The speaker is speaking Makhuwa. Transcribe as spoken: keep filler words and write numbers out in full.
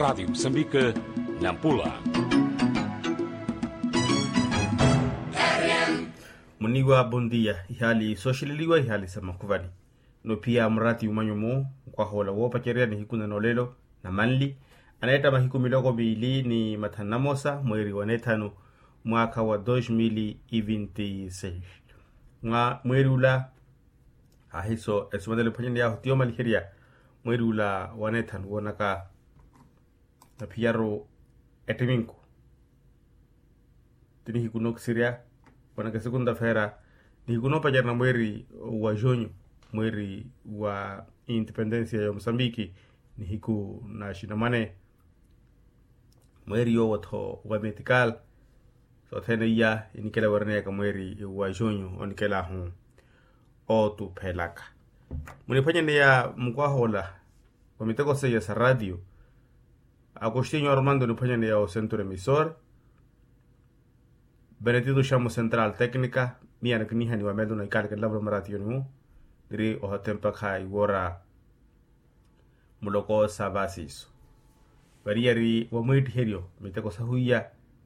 Radiyo musambike, nampula. Muniwa bondia. Ihaali sooxeleliwa ihaali sa makhuvani. Nophiya murati umanyu-mu, nkwahoola woopacerya nihiku na noolelo na manli, aneetta mahiku miloko miili ni mathanu na mosa mweeri wa neethanu, mwaakha wa dos mil e vinti seis. Mwa mweeri ula, ahiso esimanelo ephwanyaney'ahu ti yoomaliherya mweeri ula wa neethanu woonaka naphiyaru ettiminku. Ti nihiku nookisirya, woonaka esekunta feera, nihiku noopacerya na mweeri wa junho, mweeri wa independensia ya musambiki, nihiku na xinamwane, mweeri yoowo-tho wa metikal. Sothene iya inikela wereneyaka mweeri wa junho onikelahu ootuphelaka. Muniphwanyaneya mukwahoola wa miteko seiya sa ratiyo, akustinyo armando oniphwanyaneya o centro emisor, benetito xamo central tecnica, miya nikinihaniwa melo na ikalakelela vula maratiyoni-mu, niri ohatempa kha iwora muloko sa vasiiso. Variyari wa mwiittiheryo miteko sahu iya